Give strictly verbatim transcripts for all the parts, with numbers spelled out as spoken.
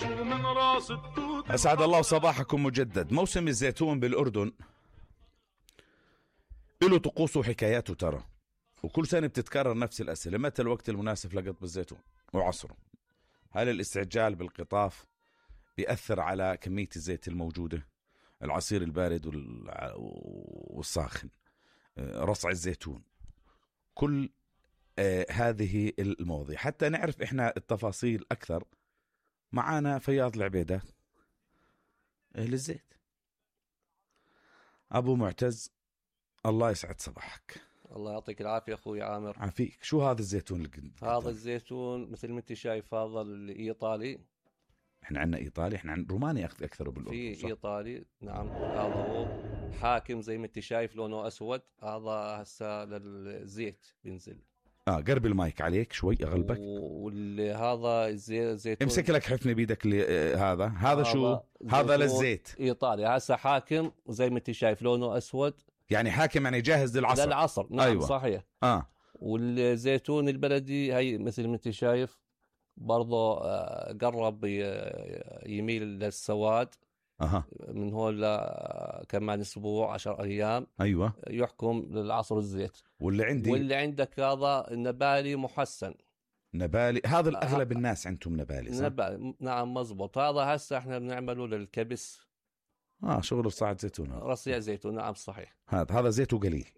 ومن راس التوت. أسعد الله صباحكم مجدد. موسم الزيتون بالأردن له طقوس وحكاياته ترى، وكل سنة بتتكرر نفس الأسئلة: متى الوقت المناسب لقطف الزيتون وعصره؟ هل الاستعجال بالقطاف بيأثر على كمية الزيت الموجودة؟ العصير البارد والساخن، رصع الزيتون، كل آه هذه المواضيع. حتى نعرف إحنا التفاصيل أكثر معانا فياض العبيدات أهل الزيت. أبو معتز، الله يسعد صباحك. الله يعطيك العافية أخوي عامر. عافيك. شو هذا الزيتون اللي قد... هذا الزيتون مثل ما انت شايف هذا الإيطالي. احنا عندنا إيطالي، احنا عندنا روماني أكثر بالأردن. في إيطالي نعم، هذا هو حاكم زي ما انت شايف لونه أسود. هذا هسا للزيت بينزل. اه قرب المايك عليك شوي أغلبك. وهذا الزيتون امسك لك حفني بيدك اللي آه هذا هذا شو هذا للزيت إيطالي. هسا حاكم زي ما انت شايف لونه أسود، يعني حاكم يعني جاهز للعصر. للعصر نعم. أيوة. صحيح. اه والزيتون البلدي هي مثل ما انت شايف برضه قرب يميل للسواد. أها. من هون كمان اسبوع عشر ايام ايوه يحكم للعصر الزيت. واللي عندي واللي عندك هذا النبالي محسن. نبالي هذا الاغلب الناس عندهم نبالي صح؟ نبالي نعم مزبوط. هذا هسه احنا بنعمله للكبس. اه شغل رصاعة زيتون، رصيع زيتون نعم صحيح. هذا هذا زيته قليل.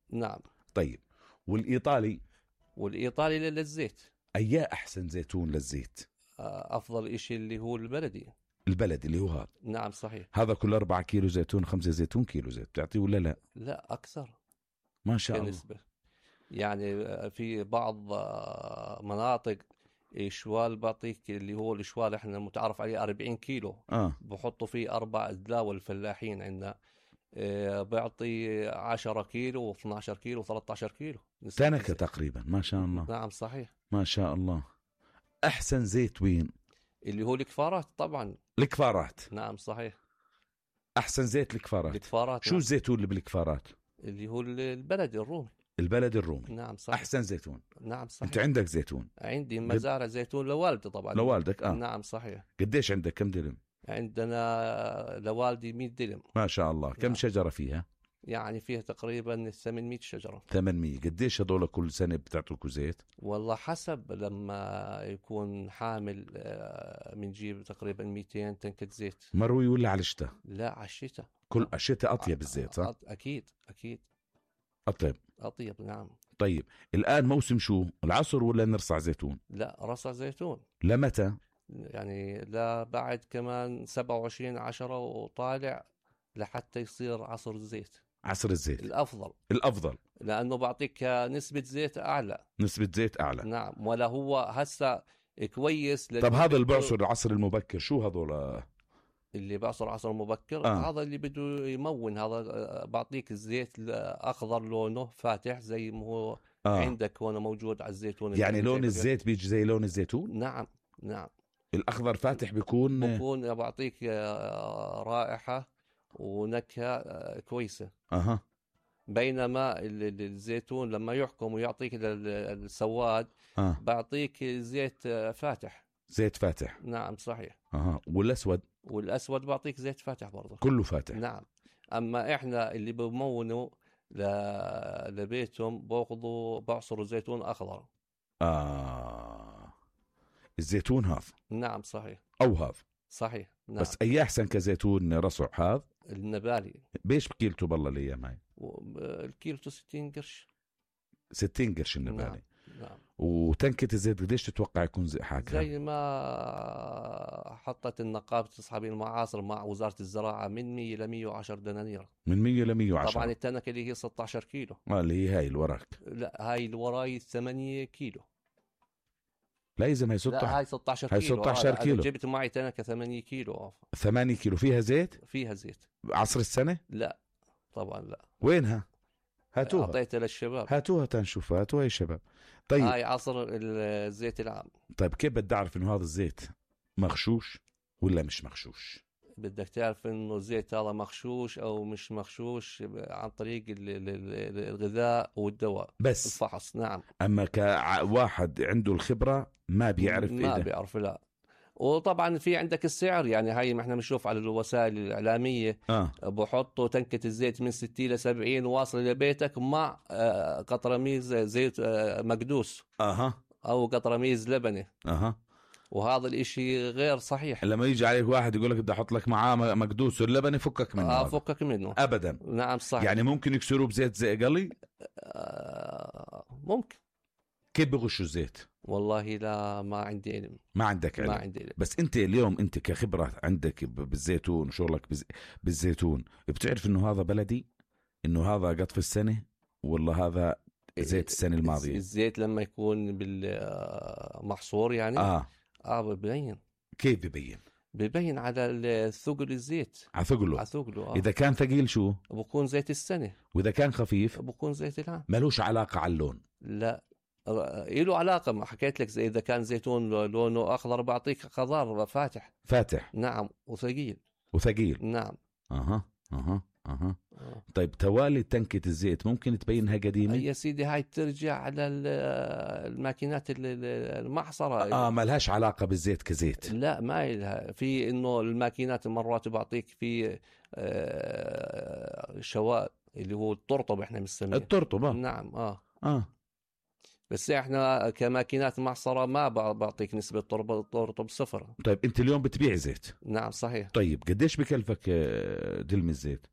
نعم. طيب والايطالي؟ والايطالي للزيت. اي احسن زيتون للزيت؟ افضل اشي اللي هو البلدي. البلد اللي هو هذا. نعم صحيح. هذا كل أربعة كيلو زيتون خمسة زيتون كيلو زيت بتعطيه ولا لا؟ لا أكثر ما شاء الله. بالنسبة يعني في بعض مناطق إشوال بعطيك اللي هو الإشوال إحنا متعرف عليه أربعين كيلو. آه. بحطوا فيه أربع أدلاء الفلاحين عندنا بيعطي عشرة كيلو واثنى عشر كيلو وثلاثة عشر كيلو تنكة تقريبا. ما شاء الله. نعم صحيح. ما شاء الله. أحسن زيت وين؟ اللي هو الكفارات طبعا. الكفارات نعم صحيح. أحسن زيت الكفارات. الكفارات. شو نعم. الزيتون اللي بالكفارات؟ اللي هو البلد الرومي. البلد الرومي. نعم صحيح. أحسن زيتون. نعم صحيح. أنت عندك زيتون؟ عندي مزارع زيتون لوالدي طبعا. لوالدك آه. نعم صحيح. قديش عندك؟ كم دلم؟ عندنا لوالدي مية دلم. ما شاء الله. كم نعم. شجرة فيها؟ يعني فيها تقريبا ثمانمية شجرة. ثمانمية. قديش هذول كل سنة بتعطوكوا زيت؟ والله حسب، لما يكون حامل بنجيب تقريبا مئتين تنكة زيت. مروي ولا على الشتاء؟ لا على الشتاء. كل الشتاء أطيب الزيت صح؟ أكيد أكيد أطيب. أطيب نعم. طيب الآن موسم شو؟ العصر ولا نرصع زيتون؟ لا رصع زيتون. لمتى؟ يعني لا بعد كمان سبعة وعشرين عشرة وطالع لحتى يصير عصر الزيت. عصر الزيت الأفضل. الأفضل لأنه بعطيك نسبة زيت أعلى. نسبة زيت أعلى. نعم. ولا هو هسا كويس. طب هذا اللي بعصر العصر المبكر شو هذول؟ اللي بعصر عصر مبكر آه. هذا اللي بده يمون. هذا بعطيك الزيت أخضر لونه فاتح زي ما هو آه. عندك هون موجود على الزيتون. يعني لون الزيت بيجي زي لون الزيتون؟ نعم نعم. الأخضر فاتح بيكون بيكون بعطيك رائحة ونكهة كويسة. أها. بينما الزيتون لما يحكم ويعطيك السواد آه. بعطيك زيت فاتح. زيت فاتح. نعم صحيح. أها. والأسود؟ والأسود بعطيك زيت فاتح برضه. كله فاتح. نعم. أما إحنا اللي بمونوا ل... لبيتهم باخذوا بعصروا زيتون أخضر. آه. الزيتون هذا. نعم صحيح. أو هذا. صحيح. نعم. بس أي أحسن كزيتون رصع هذا؟ النبالي. بيش بكيلته بالله الأيام هاي؟ الكيلته ستين قرش. ستين قرش النبالي. نعم. نعم. وتنكة الزيت قديش تتوقع يكون زي حاكا؟ زي ما حطت النقابة أصحاب المعاصر مع وزارة الزراعة من مية ل مية وعشرة دنانير. من مية ل مية وعشرة. طبعا التنكة اللي هي ستة عشر كيلو. ما اللي هي هاي الوراك؟ لا هاي الوراي ثمانية كيلو. لا إذا ما هي ستة عشر. لا هاي ستة عشر هاي كيلو. ستة عشر كيلو. جبت معي تنكة ثمانية كيلو. ثمانية كيلو فيها زيت؟ فيها زيت. عصر السنة؟ لا طبعا لا. وينها؟ هاتوها. أعطيتها للشباب. هاتوها تنشوفها. هاتوها يا شباب. طيب هاي عصر الزيت العام. طيب كيف بدي أعرف إنه هذا الزيت مغشوش ولا مش مغشوش؟ بدك تعرف إنه الزيت هذا مغشوش أو مش مغشوش عن طريق الغذاء والدواء بس الفحص. نعم. أما كواحد عنده الخبرة ما بيعرف. ما إيه بيعرف لا. وطبعا في عندك السعر، يعني هاي ما احنا بنشوف على الوسائل الإعلامية اه بحطوا تنكة الزيت من ستين لسبعين واصل لبيتك مع آه، قطرميز زيت آه، مقدوس اها أو قطرميز لبني، اها وهذا الإشي غير صحيح. لما يجي عليك واحد يقول لك بدي احط لك معاه مقدوس اللبن، فكك منه. آه هذا. فكك منه ابدا. نعم صحيح. يعني ممكن يكسروه بزيت زي قلي. آه ممكن. كيف بغشوا الزيت؟ والله لا ما عندي علم. ما عندك علم. ما عندي علم. بس انت اليوم انت كخبرة عندك بالزيتون وشغلك بز... بالزيتون، بتعرف انه هذا بلدي، انه هذا قطف السنة، والله هذا زيت السنة الماضية. الزيت لما يكون بالمحصور يعني اه اه ببين. كيف ببين؟ ببين على ثقل الزيت، على ثقله. على ثقله آه. اذا كان ثقيل شو بكون زيت السنة، واذا كان خفيف بكون زيت العام. ملوش علاقة على اللون. لا له علاقة، ما حكيت لك، زي إذا كان زيتون لونه أخضر بعطيك خضار فاتح. فاتح. نعم وثقيل. وثقيل. نعم. اها اها اها آه. طيب توالي تنكة الزيت ممكن تبينها قديمة؟ يا سيدي هاي ترجع على الماكينات المحصرة. اه ما لهاش علاقة بالزيت كزيت. لا ما لها، في إنه الماكينات مرات بعطيك في آه شواء اللي هو الترطب احنا بنسميه. الترطب. نعم اه اه بس احنا كماكينات محصرة ما بعطيك نسبة ترطب صفر. طيب انت اليوم بتبيع زيت؟ نعم صحيح. طيب قديش بكلفك دلم الزيت؟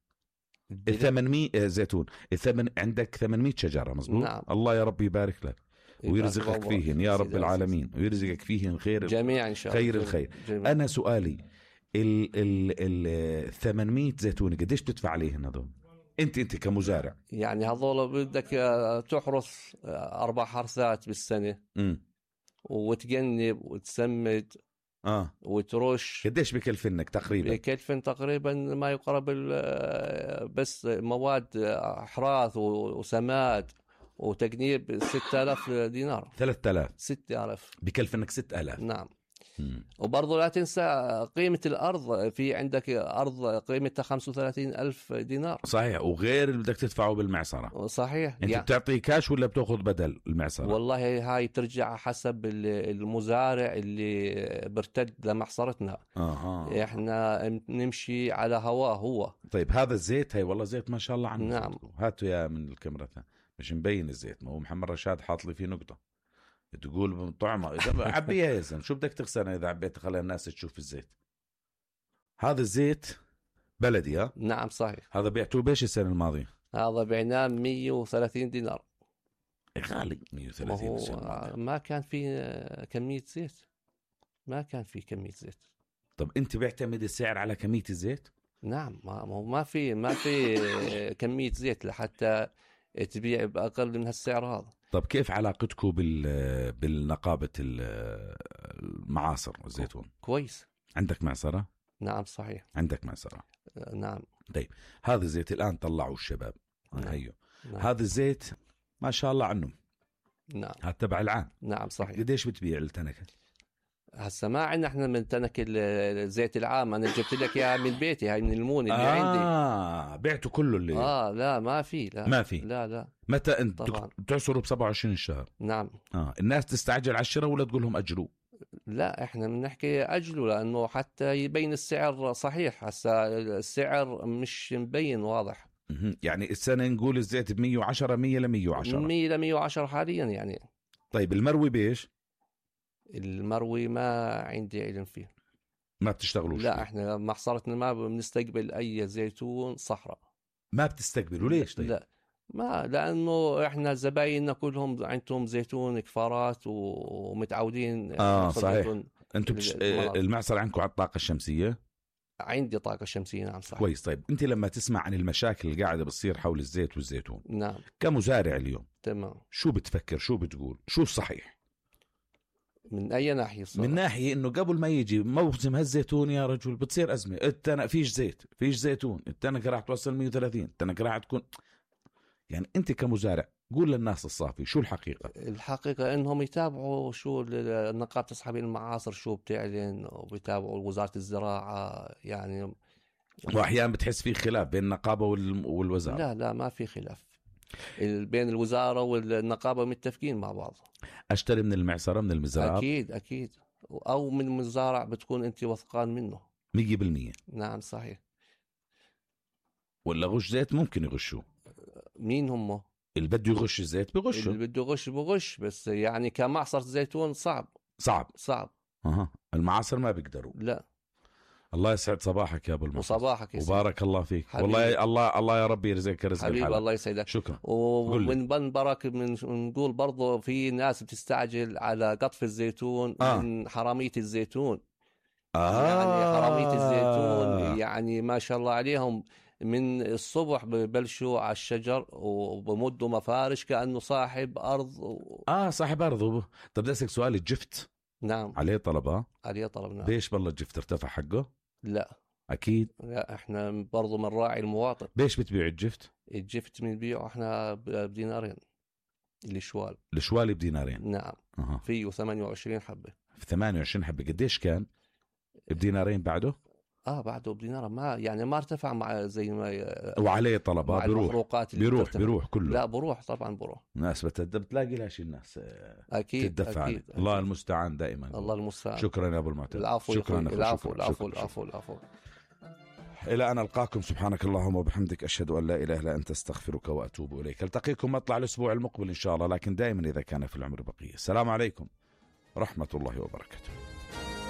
ثمانمية زيتون، الثمن عندك ثمانمية شجرة مزبوط؟ نعم. الله يا رب يبارك لك ويرزقك فيهن يا رب العالمين، ويرزقك فيهن خير جميعا إن شاء الله. خير الخير. جميع. أنا سؤالي ال ال ال ثمانمية زيتون قديش بتدفع عليهن هذول؟ أنت أنت كمزارع يعني هذول بدك تحرث أربع حرثات بالسنة. امم وتجنب وتسمد اه وترش. قديش بكلفنك تقريبا؟ بكلفن تقريبا ما يقرب بس مواد احراث وسماد وتجنيب ستة آلاف دينار. ثلاثة آلاف. ستة آلاف بكلفنك ستة آلاف. نعم. مم. وبرضه لا تنسى قيمة الأرض، في عندك أرض قيمتها خمسة وثلاثين ألف دينار. صحيح، وغير اللي بدك تدفعه بالمعصرة. صحيح. انت يعني بتعطي كاش ولا بتاخذ بدل المعصرة؟ والله هاي ترجع حسب المزارع اللي برتد لمحصرتنا. آه. احنا نمشي على هواه هو. طيب هذا الزيت، هاي والله زيت ما شاء الله عنه. نعم. هاتوا يا من الكاميرا مش مبين الزيت، ما هو محمد رشاد حاط لي فيه نقطة تقول طعمه. إذا عبيها يا زلمة، شو بدك تخسر إذا عبيت خلي الناس تشوف الزيت. هذا الزيت بلدي. ها نعم صحيح. هذا بعتوه بيش السنة الماضية؟ هذا بعناه مية وثلاثين دينار. غالي. مية وثلاثين ما, السنة ما كان في كمية زيت، ما كان في كمية زيت. طب أنت بيعتمد السعر على كمية الزيت؟ نعم. ما ما في ما في كمية زيت لحتى تبيع بأقل من هالسعر هذا. طب كيف علاقتكم بال بالنقابة المعاصر والزيتون؟ كويس. عندك معصرة؟ نعم صحيح. عندك معصرة. نعم. طيب هذا الزيت الآن طلعوا الشباب. نعم. هيو. نعم. هذا الزيت ما شاء الله عنه. نعم. هذا تبع العام. نعم صحيح. قديش بتبيع التنكة؟ هسا ما عندنا احنا من تنك الزيت العام، انا جبت لك اياها من بيتي، هاي من المون اللي آه عندي. اه بعته كله اللي اه لا ما في. لا ما في. لا لا. متى انت طبعاً. بتعصروا ب سبعة وعشرين الشهر؟ نعم. اه الناس تستعجل على الشراء ولا تقول لهم اجلوا؟ لا احنا بنحكي اجلوا لانه حتى يبين السعر صحيح. هسا السعر مش مبين واضح. يعني السنة نقول الزيت ب مية وعشرة مية ل مية وعشرة مية ل مية وعشرة حاليا يعني. طيب المروي بيش؟ المروي ما عندي علم فيه. ما بتشتغلوش لا فيه. احنا محصرتنا ما بنستقبل اي زيتون صحراء. ما بتستقبلوا ليش؟ طيب لا ما لانه احنا زبايننا كلهم عندهم زيتون كفارات ومتعودين. اه صحيح. زيتون. انتم بتش... المعصر عندكم على الطاقة الشمسية؟ عندي طاقة شمسية. نعم صح. كويس. طيب انت لما تسمع عن المشاكل اللي قاعدة بتصير حول الزيت والزيتون، نعم كمزارع اليوم تمام، شو بتفكر؟ شو بتقول؟ شو الصحيح؟ من اي ناحية صراحة؟ من ناحية انه قبل ما يجي موسم هالزيتون يا رجل بتصير ازمة، التنك فيش زيت فيش زيتون، التنك راح توصل مية وثلاثين، التنك راح تكون. يعني انت كمزارع قول للناس الصافي شو الحقيقة؟ الحقيقة انهم يتابعوا شو نقابة اصحاب المعاصر شو بتعلن، وبيتابعوا وزارة الزراعة يعني. واحيانا بتحس في خلاف بين النقابة والوزارة؟ لا لا ما في خلاف، بين الوزارة والنقابة متفقين مع بعض. اشتري من المعصرة من المزرعة؟ اكيد اكيد أو من مزارع بتكون أنت وثقان منه. مية بالمية. نعم صحيح. ولا غش زيت ممكن يغشوه. مين هم؟ اللي بده يغش الزيت بغشه. اللي بده يغش بغش، بس يعني كمعصرة زيتون صعب صعب صعب. أه. المعاصر ما بيقدروا. لا. الله يسعد صباحك يا ابو المحفظ. وصباحك يا وبارك الله فيك. حبيبي. والله الله الله يا ربي يرزقك رزق حبيبي الحلال. الله يسعدك. شكرا. ومن بنبرك بنقول برضو في ناس بتستعجل على قطف الزيتون آه. من حرامية الزيتون. آه. يعني حرامية الزيتون يعني ما شاء الله عليهم من الصبح ببلشوا على الشجر وبمدوا مفارش كأنه صاحب أرض و... اه صاحب أرض. طب بدي أسألك سؤال، الجفت نعم عليه طلبة؟ عليه طلب. نعم. بيش بالله الجفت ارتفع حقه؟ لا أكيد. لا احنا برضو بنراعي المواطن. بيش بتبيع الجفت؟ الجفت بنبيعه احنا بدينارين الشوال. الشوالي بدينارين. نعم. أه. فيه ثمانية وعشرين حبة. في ثمانية وعشرين حبة. قديش كان بدينارين بعده؟ اه بعده بدينار، ما يعني ما ارتفع مع زي ما وعليه طلبات بيروح بيروح بيروح كله. لا بروح طبعا بروح. ناس بتلاقي لها شي الناس اكيد تدفع. أكيد. الله أكيد. المستعان دائما. الله المستعان. شكرا يا ابو المعتز. العفو. شكرا العفو العفو العفو العفو, العفو. إلى أن ألقاكم سبحانك اللهم وبحمدك أشهد أن لا إله إلا أنت استغفرك وأتوب إليك. التقيكم مطلع الأسبوع المقبل إن شاء الله، لكن دائما إذا كان في العمر بقية. السلام عليكم ورحمة الله وبركاته.